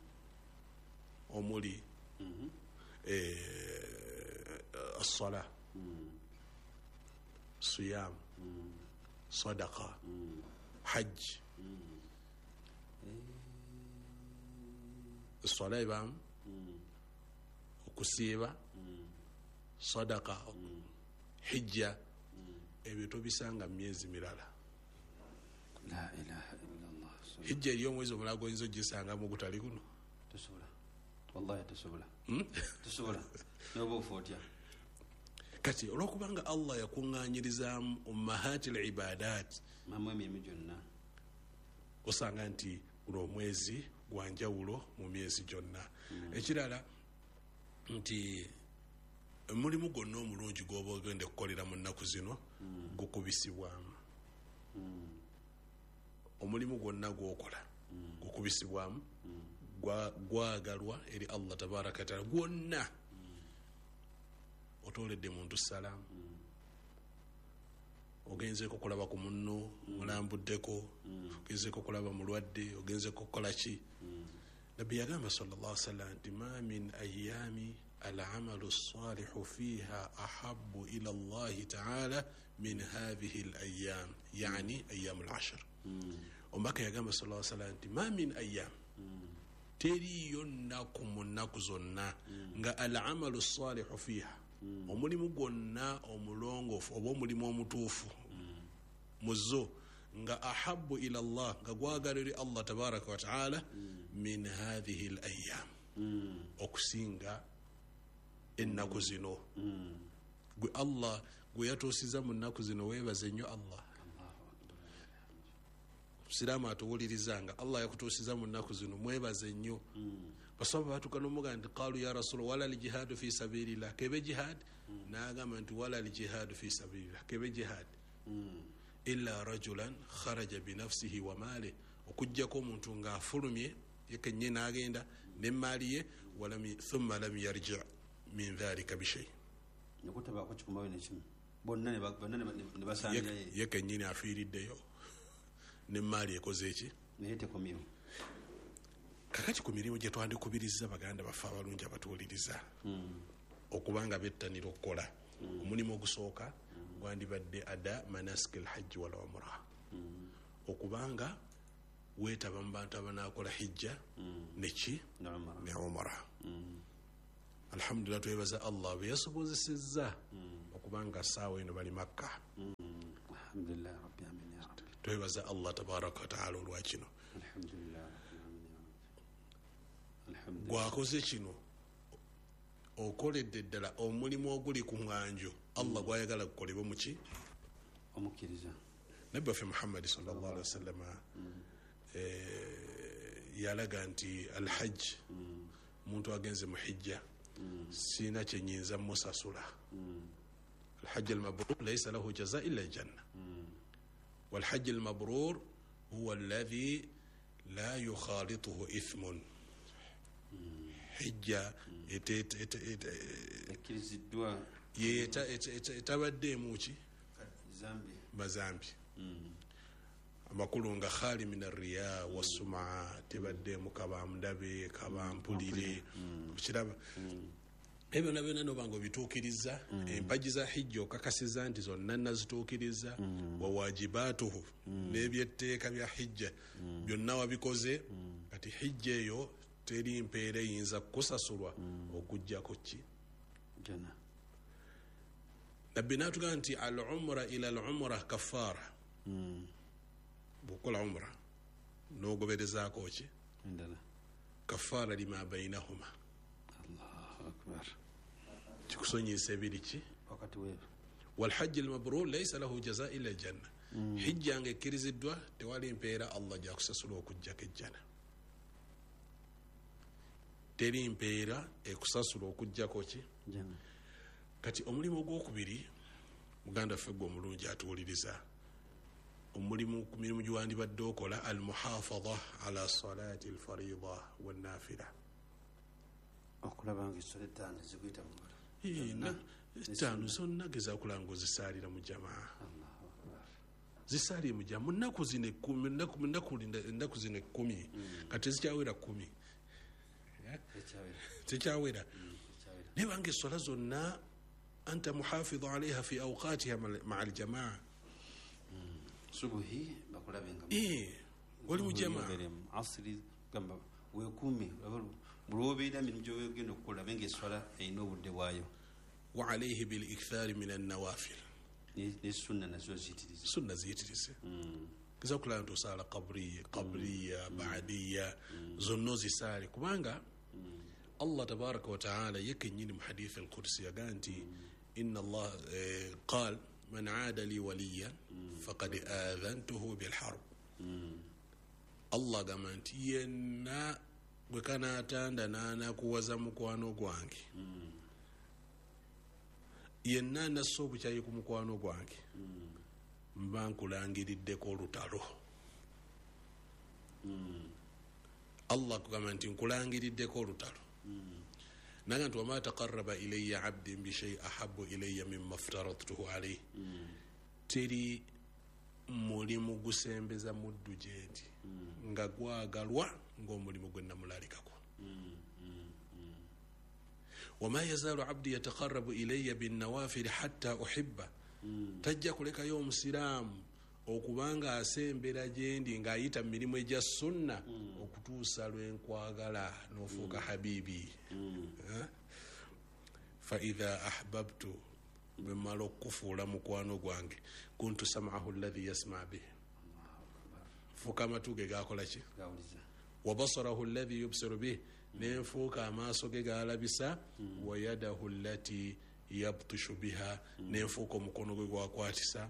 Omuli as-sala, siyam, sadaqa, hajj. Esswala ebaamu, okusiiba, sadaqa, hijja, ebyo tobisanga mu myezi mirala. La ilaha illallah. Hijja eriyo omwezi omulala gw'oyinza ogisangamu ogutali guno? Tosobola. Wallahi tosobola. Tosobola. N'oba ofa otya? Kati olwokubanga Allah yakuŋŋaanyirizaamu ummahati al-ibadat, mamu emirimu gyonna, osanga nti guno omwezi gwa njawulo mu myezi gyonna. Ekirala nti omulimu gwonna omulungi gw'oba ogenda okukolera mu nnaku zino gukubisibwamu. Omulimu gwonna gw'okola gukubisibwamu, gwagalwa eri Allah tabaraka wa taala gwonna. Otooledde muntu salaamu, ogenzeeko okulaba ku munno, olambuddeko, ogenzeeko okulaba mulwadde, ogenzeeko okukola ki. Nabbi yagamba sallallahu alaihi wasallam nti ma min ayyami al-amalu as-salihu fiha ahabbu ila Allahi ta'ala min hadhihi al-ayyam, yani ayyam al-ashr. Omubaka yagamba sallallahu alaihi wasallam nti ma min ayyam, teriiyo nnaku mu nnaku zonna nga al-amalu as-salihu fiha, omulimu gwonna omulongoofu oba omulimu omutuufu mu zo nga ahabbu ila Allah, nga gwagala eri Allah tabaraka wa taala, min hadhihi al-ayyam, okusinga ennaku zino. Gwe Allah gwe yatuusiza mu nnaku zino weebaze nnyo Allah. Musiraamu atuwuliriza nga Allah yakutuusiza mu nnaku zino mwebaze nnyo. Basaba batuuka n'omugamba nti qaalu ya rasula wala al-jihaadu fi sabilillah, kebe jihad? N'agamba nti wala al-jihaadu fi sabilillah, kebe jihad, illa rajulan kharaja binafsihi wa maalihi, okuggyako omuntu ng'afulumye ye kennyini n'agenda n'emmaali ye, thumma lam yarji min dhalika bishay, nekutabaako kikumayo nekimu bonna ne basangira ye kennyini afiiriddeyo n'emmaali ekoze eki naye tekomyewo. Kakati ku mirimu gye twandikubiriza baganda baffe abalungi abatuwuliriza okubanga bettanira okukola, omulimu ogusooka Gwandibadde ada manasik alhajji wal umra. Mm. Okubanga weetaba mu bantu abanaakola hijja mm. neki ne umra. Mm. Alhamdulillah, twebaza Allah bwe yasobozesezza mm. okubanga ssaawa eno bali Makka. Mm. Alhamdulillah rabbil alamin ya rabbi. Twebaza Allah tabaraka wa taala olwa kino. Alhamdulillah rabbil alamin ya rabbi. Alhamdulillah. Gwakoze kino okoledde ddala omulimu oguli ku mwanjo Allah gwayagala gukolebwe muki omukkiriza. Nabbi waffe Muhammadi sallallahu alaihi wasallam eh, yalaga nti alhajj mm. muntu agenze mu hijja mm. sina kyenyinza musasula. mm. Alhajj almabrur laysa lahu jaza illa aljanna. mm. Walhajj almabrur huwa alladhi la yukhalituhu ithmun. mm. Hijja ekkiriziddwa etabaddeemu ki zambi mazambi. Amakulu nga khali min arriya wassumaa, tebaddeemu kabamundabe kabampulire okiraba ebyo byonna byonna nobanga obituukiriza. Empagi za hijja okakasiza nti zonna nazituukiriza, wawajibatuhu n'ebyetteeka bya hijja byonna wabikoze. Kati hijja eyo teri mpeera eyinza kusasulwa okuggyako ki jana. Nabbi n'atugamba nti al umra ila al umra kaffara. Bw'okola umra n'ogoberezaako ki endala, kaffara lima bainahuma. Allahu akbar. Kikusonyiisa ebiri ki wakati weeru. Walhajji almabrur laysa lahu jaza illa aljanna. Hijja nga ekkiriziddwa tewali mpeera Allah gy'akusasula okuggyako ejjana. Teri mpeera ekusasula okuggyako ki jana. Kati omulimu ogwokubiri muganda waffe gwe omulungi atuwuliriza, omulimu ku mirimu gyewandibadde okola al muhafadha ala salati alfarida wannafila, okulaba nga esswala ettaano zikuyita mu ngalo ettaano zonna gezaako nga ozisaalira mu jamaa. Zisaalire mu jamaa mu nnaku zino ekkumi, ennaku zino ekkumi kati tezikyawera kkumi, tekyawera. Naye banga esswala zonna anta muhafidhu alaiha fi awqatiha maa aljamaa. Subuhi bakulabenga oli mu jamaa, asiri gamba weekuume buli obeera mirimu gy'ogenda okukola benga esswala erina obudde bwayo. Wa alaihi bilikthari min annawafil, ne sunna nazo ziyitirize, sunna ziyitirize. Geza okulaba nti osaala qabriya, qabriya, baadiya, zonna ozisaale, kubanga Allah tabaraka wa taala ye kennyini mu hadithi alqudsi yagaa nti inna Allah qal man aada li waliyan faqad adhantuhu bilharb. Allah agamba nti yenna gwe kanaatanda n'anakuwaza mukwano gwange, yenna nassa obukyayi ku mukwano gwange, mba nkulangiriddeko olutalo. Allah akugamba nti nkulangiriddeko olutalo. Naga nti wama taqarraba ilayya abdi bishai ahabbu ilayya mimma aftaradtuhu alayhi, teri mulimu gusembeza muddu gyendi nga gwagalwa ng'omulimu gwe namulalikako. Wama yazaalu abdi yataqarrabu ilayya binnawafili hatta uhibba, tajja kulekayo omusiraamu okubanga asembera gyendi ng'ayita mu mirimu egya sunna okutuusa lwe nkwagala n'ofuuka habibi. Fa idha ahbabtu, bwe mmala okukufuula mukwano gwange, kuntu sam'ahu alladhi yasma bihi, nfuuka amatu ge gakola ki, wa basarahu alladhi yubsiru bihi, nenfuuka amaaso ge galabisa, wa yadahu allati yabtishu biha, nenfuuka omukono gwe gwakwatisa,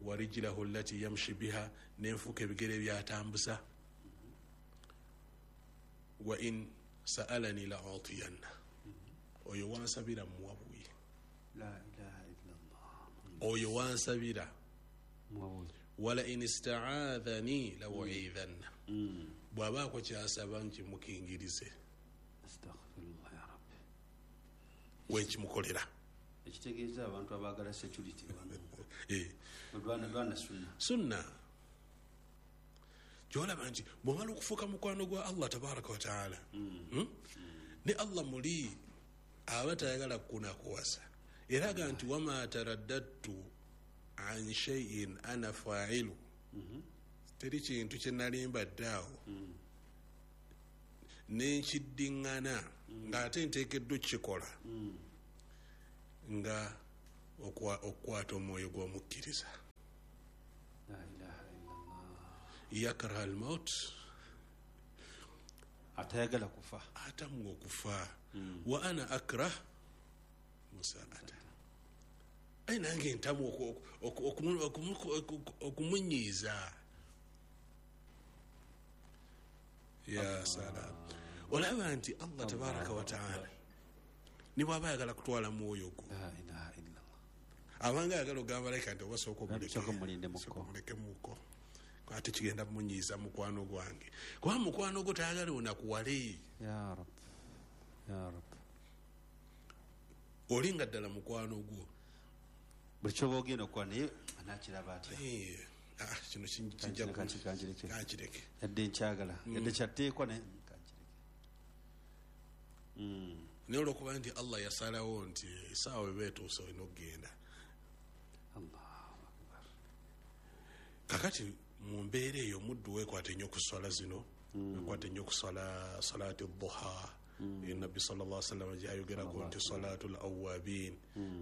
wa rijlahu allati yamshi biha, nenfuuka ebigere byatambuza, wa in sa'alani la utiyanna, oyo wansabira muwabuye. La ilaha illallah, oyo wansabira muwabuye. Wala in ista'adhani la u'idhanna, bw'abaako kyasaba nkimukingirize. Astaghfirullah ya rabbi, wenkimukolera. Ekitegeeza abantu abaagala security eh lwana lwana sunna sunna gyolaba nti bw'omala okufuuka mukwano gwa Allah tabaraka wa taala, ne Allah muli aba tayagala kunakuwasa, era aga nti wama taraddadtu an shay'in ana fa'ilu. Teri kintu kye nali mbadde awo nenkiddiŋŋana ng'ate nteekeddwa okukikola nga okukwata omwoyo gw'omukkiriza. Yakraha almaut, atayagala kufa, atamwa okufa. Wa ana akrah musaata, aye nange ntamwa okumunyiiza. Ya salam. Olaba nti Allah tabaraka wa taala ne bw'aba ayagala kutwala mwoyo gwo, abanga ayagala ogamba malayika nti oba sooka omulekemuko, ate kigenda munyiiza mukwano gwange, kuba mukwano gwo tayagala onakuwale. Ya Rab, ya Rab, oli nga ddala mukwano gwo buli kyoba ogenda okukola naye anakiraba atya? Kino kijja kankireke, yadde nkyagala, yadde kyatteekwa naye kankireke. Naye olwokuba nti Allah yasalawo nti essaawa eba etuuse olina okugenda. Kakati mu mbeera eyo omuddu weekwata ennyo ku swala zino, weekwata ennyo ku swala salaati duha. Nabbi sallallahu alaihi wasallam gyayogerako nti salaatul awabin,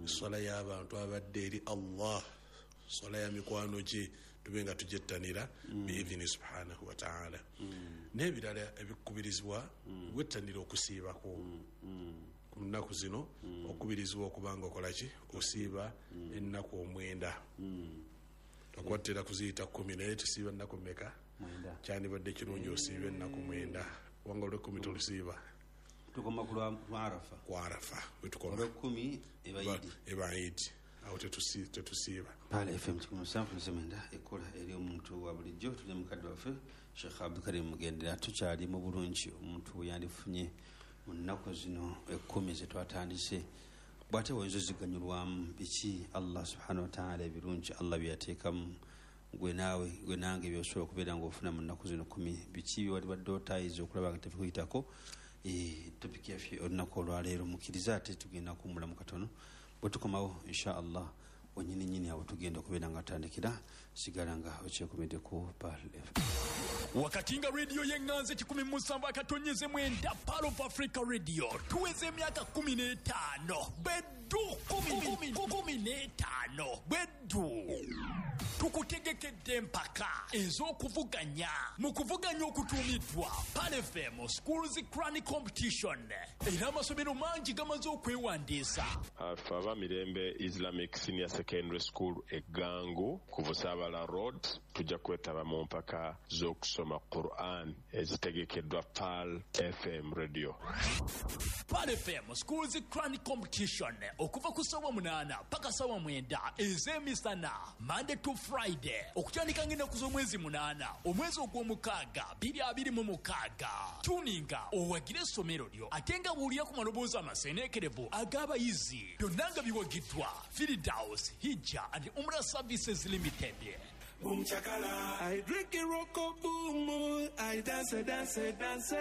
swala y'abantu abadde eri Allah, swala ya mikwano gye, tube nga tugyettanira biidhini subhanahu wa taala. N'ebirala ebikubirizibwa, wettanira okusiibako ku nnaku zino, okubirizibwa okubanga okola ki, osiiba ennaku omwenda. Okuba tutera kuziyita kkumi, naye tusiiba ennaku mmeka? Kyandibadde kirungi osiiba ennaku mwenda, kubanga olw'ekkumi tolusiiba, tukoma ku lwa Arafa, ku Arafa wetukoma, olw'ekkumi eba Idi, awo tetusiiba. Pala F M kikumi musanvu nzemenda ekola eri omuntu wa bulijjo. Tuli mukadde waffe Sheikh Abdulkarim Mugendera, tukyali mu bulungi omuntu we yandifunye mu nnaku zino ekkumi ze twatandise. Bw'ate oyinza oziganyulwamu biki Allah subhanahu wa ta'ala ebirungi Allah bye yateekamu gwe naawe gwe nange byosobola okubeera ng'ofuna mu nnaku zino kkumi, biki byewalibadde otayiza okulaba nga tebikuyitako? Topiki yaffe olunaku olwaleero mukkiriza, ate tugenda kuwummulamu katono, bwe tukomawo insha Allah wenyini nyini awo tugenda okubeera nga tutandikira. Sigala nga okyekumidde ku Pearl F M. Wakati nga rediyo y'eŋŋanzi kikumi musanvu akatonyeze mwenda Pearl of Africa Radio tuweze emyaka kumi n'etaano beddu kumi n'etaano beddu tukutegekedde empaka ez'okuvuganya mu kuvuganya okutuumiddwa Pearl F M Schools Quranic Competition, era amasomero mangi gamaze okwewandiisa. Afe aba Mirembe Islamic Senior Secondary School Eggangu ku Busaabala Road tujja kwetaba mu mpaka z'okusoma Quran ezitegekeddwa Pearl F M Radio. Pearl F M Schools Quranic Competition okuva ku ssaawa munaana paka ssaawa mwenda ez'emisana Monday to Friday, okutandika ng'ennaku z'omwezi munaana omwezi ogw'omukaaga bbiri abiri mu mukaaga. Tuninga owagire essomero lyo ate nga buulira ku maloboozi amaseeneekerevu ag'abayizi, byonna nga biwagiddwa Firdaus Hijja and Umrah Services Limited. Boom chakala, I drink a roko boom, I dance, dance, dance.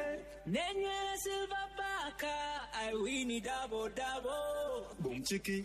Nenywera silver baka, I win double double. Boom chiki.